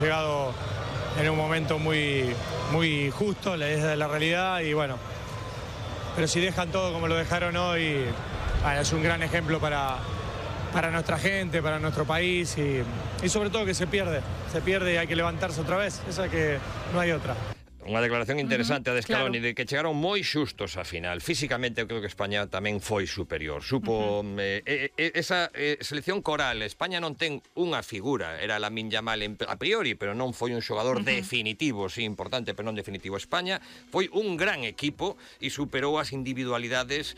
Llegado en un momento muy justo, es la realidad y bueno, pero si dejan todo como lo dejaron hoy, bueno, es un gran ejemplo para nuestra gente, para nuestro país y sobre todo que se pierde y hay que levantarse otra vez, esa que no hay otra. Unha declaración interesante a de Scaloni, de que chegaron moi xustos á final. Físicamente eu creo que España tamén foi superior. Supo esa selección coral. España non ten unha figura, era Lamine Yamal a priori, pero non foi un xogador definitivo, sí, importante, pero non definitivo. España foi un gran equipo e superou as individualidades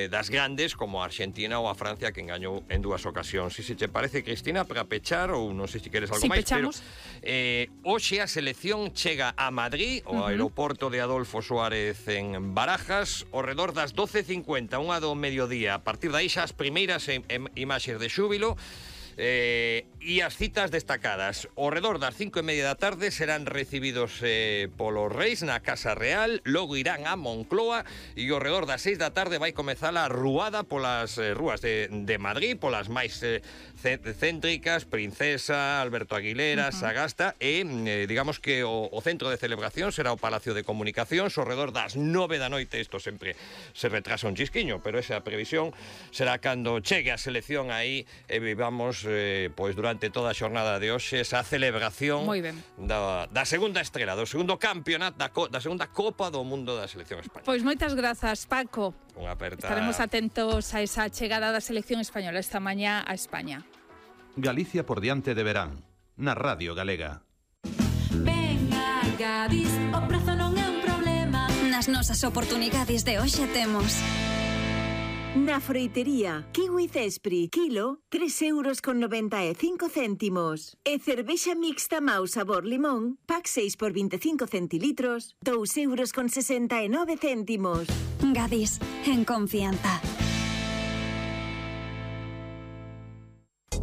das grandes como a Argentina ou a Francia, que engañou en 2 ocasións. Si se te parece, Cristina, para pechar, ou non sei se queres algo máis, pechamos. Pero hoxe a selección chega a Madrid, o aeroporto de Adolfo Suárez en Barajas, ao redor das 12:50, unha do mediodía. A partir de aí xa as primeiras imaxes de xúbilo e as citas destacadas. Ao redor das 5:30 da tarde serán recibidos polos reis na Casa Real, logo irán a Moncloa e ao redor das 6 da tarde vai comezar a ruada polas rúas de Madrid, polas máis céntricas, Princesa, Alberto Aguilera, Sagasta e digamos que o centro de celebración será o Palacio de Comunicacións ao redor das 9 da noite. Isto sempre se retrasa un chisquiño, pero esa previsión será cando chegue a selección aí e vivamos pois durante toda a xornada de hoxe esa celebración da segunda estrela, do segundo campeonato, da segunda Copa do Mundo da selección española. Pois moitas grazas, Paco. Unha aperta. Estaremos atentos a esa chegada da selección española esta mañá a España. Galicia por diante de verán, na Radio Galega. Venga, Gadis, o prezo non é un problema. Nas nosas oportunidades de hoxe temos na froitería Kiwi Cespri, kilo, 3,95 €. E cervexa mixta Mau sabor limón, pack 6 por 25 centilitros, 2,69 €. Gadis, en confianza.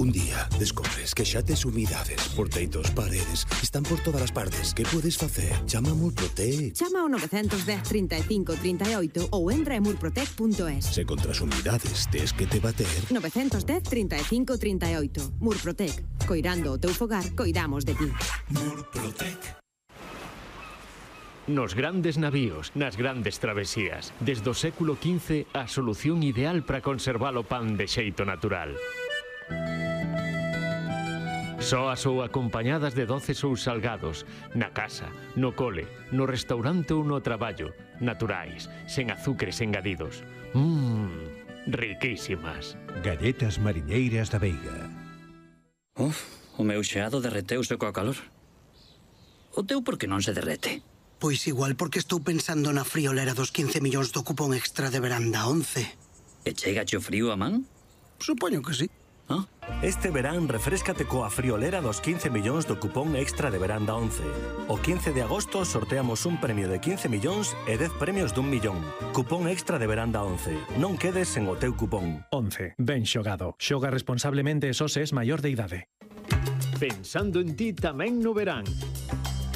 Un día descobres que xa tes humidades por teitos, paredes, están por todas as partes. Que podes facer? Chama a Murprotec. Chama ao 910 35 38 ou entra en murprotec.es. Se contra as humidades tes que te bater. 910 35 38. Murprotec. Coirando o teu fogar, coidamos de ti. Murprotec. Nos grandes navíos, nas grandes travesías, desde o século XV, a solución ideal para conservar o pan de xeito natural. Soas ou acompañadas de doces ou salgados, na casa, no cole, no restaurante ou no traballo, naturais, sen azúcares engadidos. Riquísimas. Galletas mariñeiras da Veiga. O meu xeado derreteuse coa calor. O teu por que non se derrete? Pois igual porque estou pensando na friolera dos 15 millóns do cupón extra de veranda 11. E chegache o frío a man? Supoño que sí. Este verán refréscate coa friolera dos 15 millóns do cupón extra de veranda 11. O 15 de agosto sorteamos un premio de 15 millóns e 10 premios dun millón. Cupón extra de veranda 11. Non quedes sen o teu cupón. 11. Ben xogado. Xoga responsablemente e só se es maior de idade. Pensando en ti tamén no verán.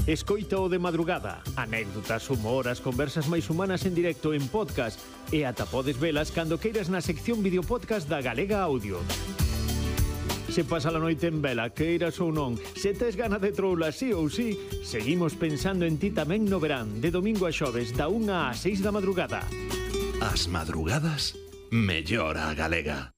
Escoita o de madrugada, anécdotas, humor, as conversas máis humanas en directo en podcast e ata podes velas cando queiras na sección videopodcast da Galega Audio. Se pasa a noite en vela, queiras ou non, se tes gana de troula sí ou sí, seguimos pensando en ti tamén no verán, de domingo a xoves, da 1 á 6 da madrugada. As madrugadas, mellor a Galega.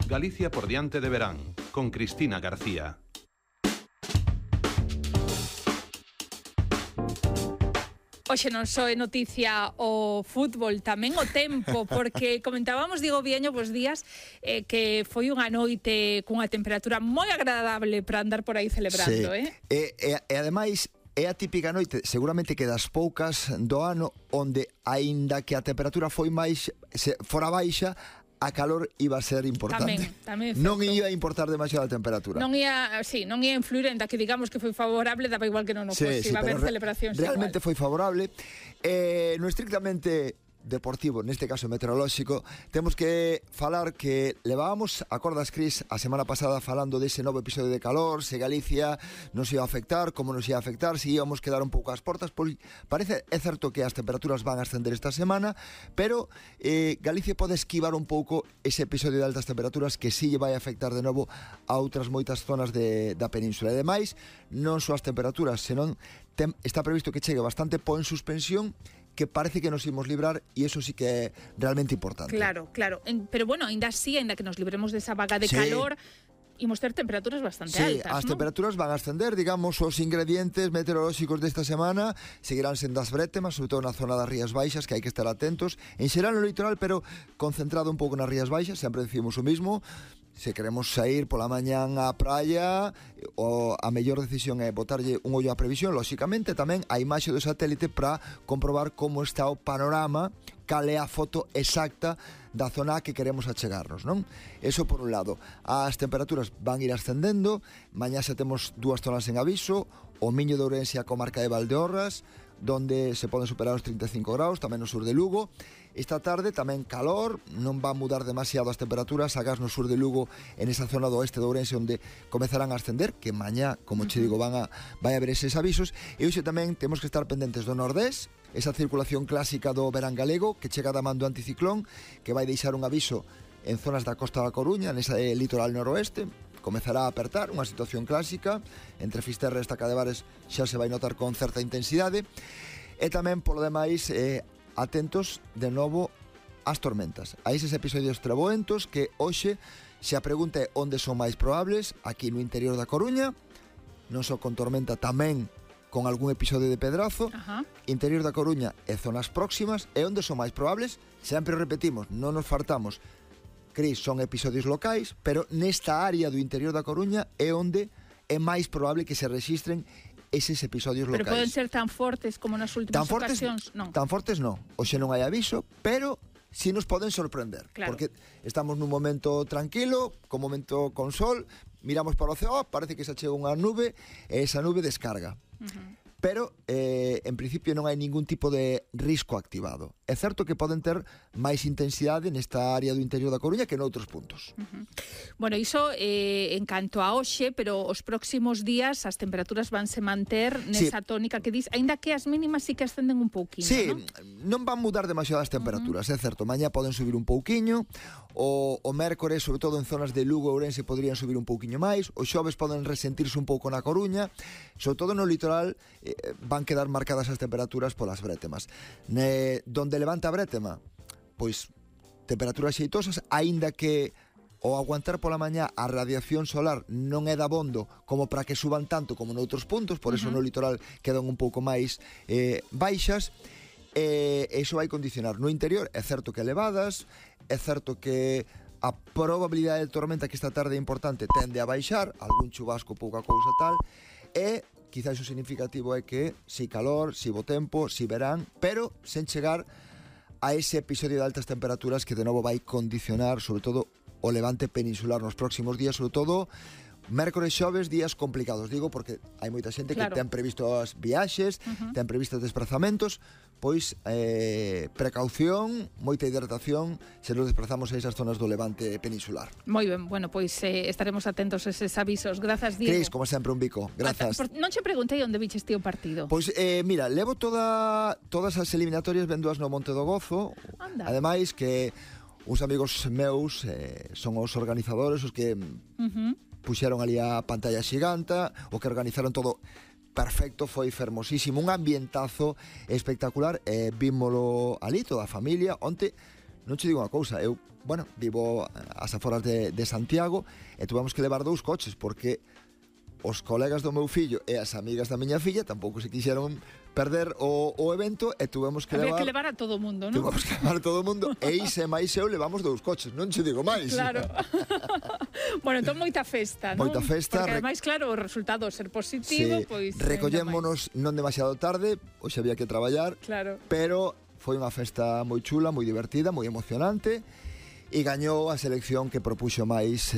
Galicia por diante de verán, con Cristina García. Hoxe non só é noticia o fútbol, tamén o tempo, porque comentábamos, Diego Vieño, vos días, que foi unha noite cunha temperatura moi agradable para andar por aí celebrando, sí. E ademais, é a típica noite, seguramente que das poucas do ano, onde, aínda que a temperatura foi máis, fora baixa, a calor iba a ser importante. Tamén non ia importar demasiado a temperatura. Non ia influir en da que digamos que foi favorable, daba igual que non o fosse, iba a haber celebracións. Realmente foi favorable. No estrictamente deportivo, neste caso meteorolóxico, temos que falar que levábamos, acordas, Cris, a semana pasada falando dese novo episodio de calor, se Galicia nos ia afectar, como nos ia afectar, se íamos quedar un pouco ás portas, pois parece, é certo que as temperaturas van a ascender esta semana, pero Galicia pode esquivar un pouco ese episodio de altas temperaturas que si lle vai afectar de novo a outras moitas zonas da península. E demais, non só as temperaturas, senón está previsto que chegue bastante po en suspensión, que parece que nos imos librar, e eso sí que é realmente importante. Claro. Pero bueno, ainda así, ainda que nos libremos desa vaga de calor, imos ter temperaturas bastante altas, as ¿no? temperaturas van a ascender, digamos, os ingredientes meteorolóxicos desta semana seguirán sendo as brétemas, sobre todo na zona das Rías Baixas, que hai que estar atentos, en xeral no litoral, pero concentrado un pouco nas Rías Baixas, sempre decimos o mismo. Se queremos sair pola mañán á praia, a mellor decisión é botarlle un ollo á previsión, lóxicamente tamén a imaxe do satélite para comprobar como está o panorama, cal é a foto exacta da zona que queremos achegarnos, non? Eso por un lado. As temperaturas van ir ascendendo, mañá xa temos 2 zonas en aviso, o Miño de Ourense e a comarca de Valdeorras, donde se poden superar os 35 graus, tamén no sur de Lugo. Esta tarde tamén calor, non va a mudar demasiado as temperaturas, agás no sur de Lugo, en esa zona do oeste de Ourense, onde comezarán a ascender, que mañá, como che digo, vai a haber eses avisos. E hoxe tamén temos que estar pendentes do nordés, esa circulación clásica do verán galego, que chega da man do anticiclón, que vai deixar un aviso en zonas da Costa da Coruña, nesa litoral noroeste. Comezará a apertar unha situación clásica, entre Fisterra e Estaca de Bares xa se vai notar con certa intensidade. E tamén, polo demais, atentos de novo ás tormentas, a eses episodios treboentos que hoxe, se a pregunta é onde son máis probables, aquí no interior da Coruña, non só con tormenta, tamén con algún episodio de pedrazo. Interior da Coruña e zonas próximas. E onde son máis probables, sempre repetimos, non nos fartamos, Cris, son episodios locais, pero nesta área do interior da Coruña é onde é máis probable que se rexistren eses episodios locais. Pero poden ser tan fortes como nas últimas ocasións? Non. Tan fortes non. Hoxe non hai aviso, pero si nos poden sorprender. Claro. Porque estamos nun momento tranquilo, con momento con sol, miramos para o ceo, parece que se chega unha nube, e esa nube descarga. Pero, en principio, non hai ningún tipo de risco activado. É certo que poden ter máis intensidade nesta área do interior da Coruña que noutros puntos. Bueno, iso en canto a hoxe, pero os próximos días as temperaturas vanse manter nesa tónica que dis, aínda que as mínimas sí que ascenden un pouquiño, non van mudar demasiado as temperaturas, é certo, mañá poden subir un pouquiño, o mércores, sobre todo en zonas de Lugo e Ourense, poderían subir un pouquiño máis, os xoves poden resentirse un pouco na Coruña, sobre todo no litoral van quedar marcadas as temperaturas polas brétemas. Donde levanta a brétema, pois temperaturas xeitosas, aínda que o aguantar pola mañá a radiación solar non é dabondo como para que suban tanto como noutros puntos, por eso no litoral quedan un pouco máis baixas, e iso vai condicionar. No interior é certo que elevadas, é certo que a probabilidade de tormenta, que esta tarde é importante, tende a baixar, algún chubasco, pouca cousa tal, e quizás o significativo é que si calor, si bo tempo, si verán, pero sen chegar a ese episodio de altas temperaturas que de novo vai condicionar, sobre todo, o levante peninsular nos próximos días, sobre todo mércores, xoves, días complicados, digo, porque hai moita xente que ten previsto as viaxes, ten previstos desplazamentos, pois precaución, moita hidratación se nos desplazamos a esas zonas do levante peninsular. Moi ben, bueno, pois estaremos atentos a eses avisos. Grazas, Diego. Cris, como sempre, un bico. Grazas. Non che preguntei onde viches ti o partido. Pois, mira, levo todas as eliminatorias vendoas no Monte do Gozo. Anda. Ademais que uns amigos meus son os organizadores, os que puxeron ali a pantalla xiganta, o que organizaron todo perfecto, foi fermosísimo, un ambientazo espectacular, vímolo ali toda a familia. Onte, non che digo unha cousa, eu, vivo ás aforas de Santiago e tuvemos que levar 2 coches porque os colegas do meu fillo e as amigas da miña filla tampouco se quixeron perder o evento e tuvemos que levar... Había que levar a todo o mundo, non? Tuvemos que levar a todo o mundo e Ise máis eu levamos 2 coches, non che digo máis. Claro. Bueno, entón moita festa, non? Moita festa. Porque ademais, claro, o resultado ser positivo, pois... Recollémonos non demasiado tarde, hoxe había que traballar, pero foi unha festa moi chula, moi divertida, moi emocionante, e gañou a selección que propuxo máis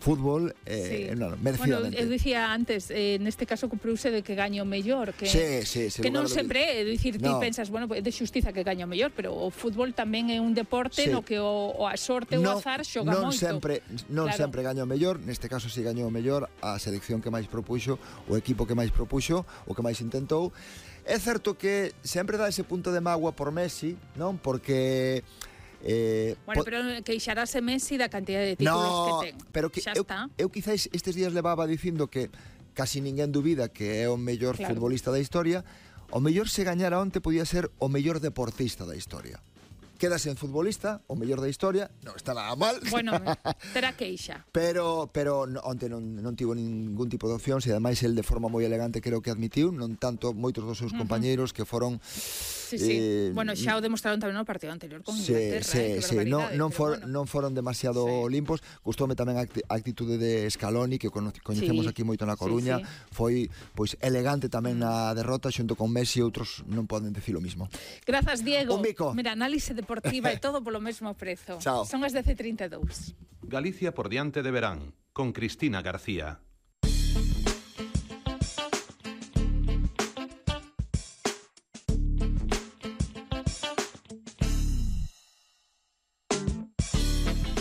fútbol Bueno, merecidamente. eu dicía antes, neste caso cumpriuse de que gaño o mellor, que que non sempre, é dicir, ti pensas, bueno, é de xustiza que gaño o mellor, pero o fútbol tamén é un deporte no que a sorte ou o azar xoga moito. Non sempre gaño o mellor, neste caso si gañou o mellor a selección que máis propuxo, o equipo que máis propuxo, o que máis intentou. É certo que sempre dá ese punto de mágoa por Messi, non? Porque bueno, pero queixarase Messi da cantidad de títulos que ten. Pero que eu quizás estes días levaba dicindo que casi ninguén dubida que é o mellor futbolista da historia. O mellor se gañara onte podía ser o mellor deportista da historia. Quedas en futbolista, o mellor da historia, non está nada mal. Bueno, terá queixa. Pero onte non tivo ningún tipo de opcións e ademais el de forma moi elegante creo que admitiu, non tanto moitos dos seus compañeiros que foron bueno, xa o demostraron tamén no partido anterior con Inglaterra. Non foron demasiado limpos. Gustoume tamén a actitude de Scaloni, que coñecemos aquí moito na Coruña. Foi pois elegante tamén na derrota xunto con Messi, outros non poden dicir o mismo. Grazas, Diego. Mira, análise deportiva e todo polo mesmo prezo. Chao. Son as 10:32. Galicia por diante de verán, con Cristina García.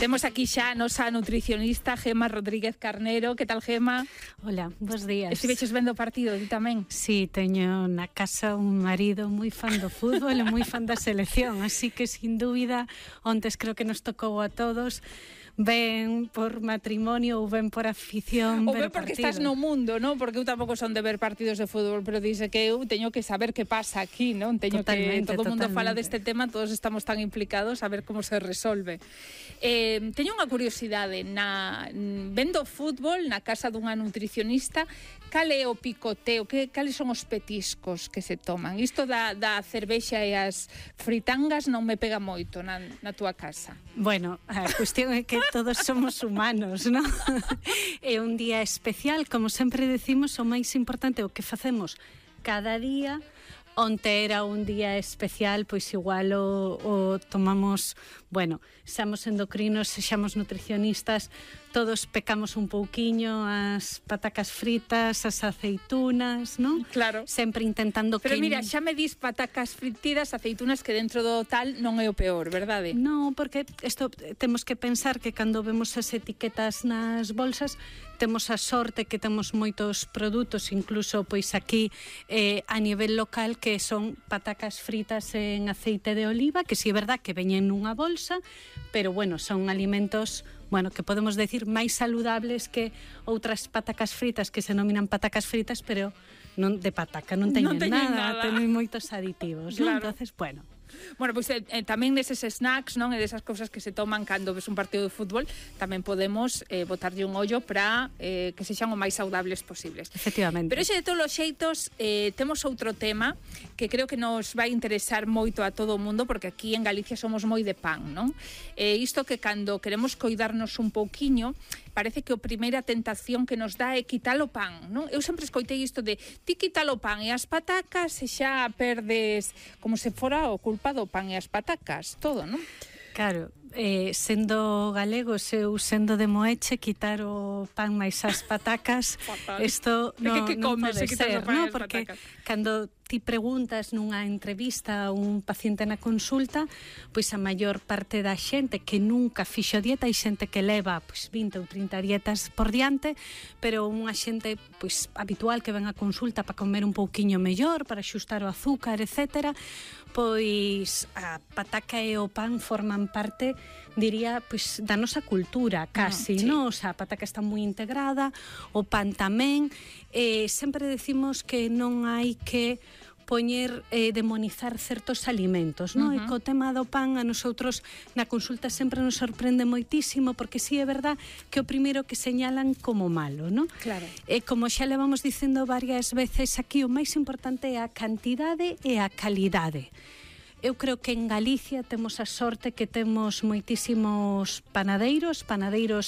Temos aquí xa a nosa nutricionista Gemma Rodríguez Carnero. Que tal, Gemma? Hola, bons días. Estiveches vendo o partido, ti tamén? Sí, teño na casa un marido moi fan do fútbol e moi fan da selección, así que, sin dúbida, ontes creo que nos tocou a todos, ben por matrimonio ou ben por afición, ou ben porque estás no mundo, non? Porque eu tampouco son de ver partidos de fútbol, pero dice que eu teño que saber que pasa aquí, non? Teño que todo o mundo fala deste tema, todos estamos tan implicados a ver como se resolve. Teño unha curiosidade, vendo fútbol na casa dunha nutricionista, cal é o picoteo, cales son os petiscos que se toman? Isto da cervexa e as fritangas non me pega moito na túa casa. Bueno, a cuestión é que todos somos humanos, non? É un día especial, como sempre decimos, o máis importante o que facemos cada día. Onte era un día especial, pois igual o tomamos, bueno, xamos endocrinos, xamos nutricionistas, todos pecamos un pouquiño as patacas fritas, as aceitunas, non? Claro. Sempre intentando Pero mira, xa me dis patacas fritidas, aceitunas, que dentro do tal non é o peor, verdade? Non, porque isto temos que pensar que cando vemos as etiquetas nas bolsas, temos a sorte que temos moitos produtos, incluso pois aquí a nivel local, que son patacas fritas en aceite de oliva, que si é verdad que veñen nunha bolsa, pero bueno, son alimentos, bueno, que podemos decir máis saludables que outras patacas fritas que se denominan patacas fritas, pero non de pataca, non teñen nada, teñen moitos aditivos, claro. Non? Entonces, bueno. Bueno, pois tamén deses snacks, non? E desas cousas que se toman cando ves un partido de fútbol, tamén podemos botarlle un ollo para que sexan o máis saudables posibles. Efectivamente. Pero ese de todos os xeitos, temos outro tema que creo que nos vai interesar moito a todo o mundo, porque aquí en Galicia somos moi de pan, non? Isto que cando queremos coidarnos un pouquiño, parece que a primeira tentación que nos dá é quitar o pan, non? Eu sempre escoitei isto de ti quita o pan e as patacas e xa perdes como se fora o culpa do pan e as patacas, todo, non? Claro, sendo galegos, eu sendo de Moeche, quitar o pan máis as patacas, isto non pode ser, non? Porque cando ti preguntas nunha entrevista a un paciente na consulta, pois a maior parte da xente que nunca fixo dieta, hai xente que leva pois 20 ou 30 dietas por diante, pero unha xente pois habitual que ven a consulta para comer un pouquiño mellor, para xustar o azúcar, etcétera, pois a pataca e o pan forman parte, diría, pois da nosa cultura, casi, non? O sea, a pataca está moi integrada, o pan tamén, sempre decimos que non hai que poñer, demonizar certos alimentos, non? E co tema do pan a nosotros na consulta sempre nos sorprende moitísimo, porque si é verdad que o primeiro que señalan como malo, non? Claro. E como xa levamos dicendo varias veces aquí, o máis importante é a cantidade e a calidade. Eu creo que en Galicia temos a sorte que temos moitísimos panadeiros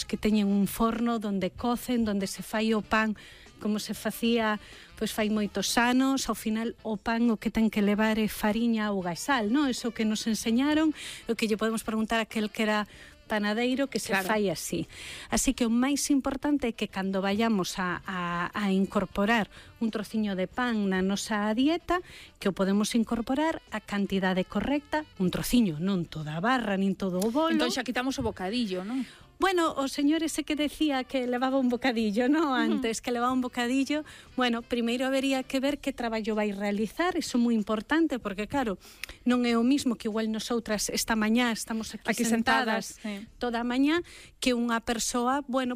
que teñen un forno donde cocen, donde se fai o pan como se facía pois fai moitos anos. Ao final o pan o que ten que levar é fariña, auga e sal, non? Eso que nos enseñaron, o que lle podemos preguntar a aquel que era panadeiro que se fai así. Así que o máis importante é que cando vayamos a incorporar un trociño de pan na nosa dieta, que o podemos incorporar a cantidade correcta, un trociño, non toda a barra, nin todo o bolo. Entón xa quitamos o bocadillo, non? Bueno, o señor ese que decía que levaba un bocadillo, ¿no? Antes, que levaba un bocadillo. Bueno, primeiro habería que ver que traballo vai realizar, eso é moi importante, porque claro, non é o mismo que igual nosotras esta mañá estamos aquí sentadas toda a mañá, que unha persoa, bueno,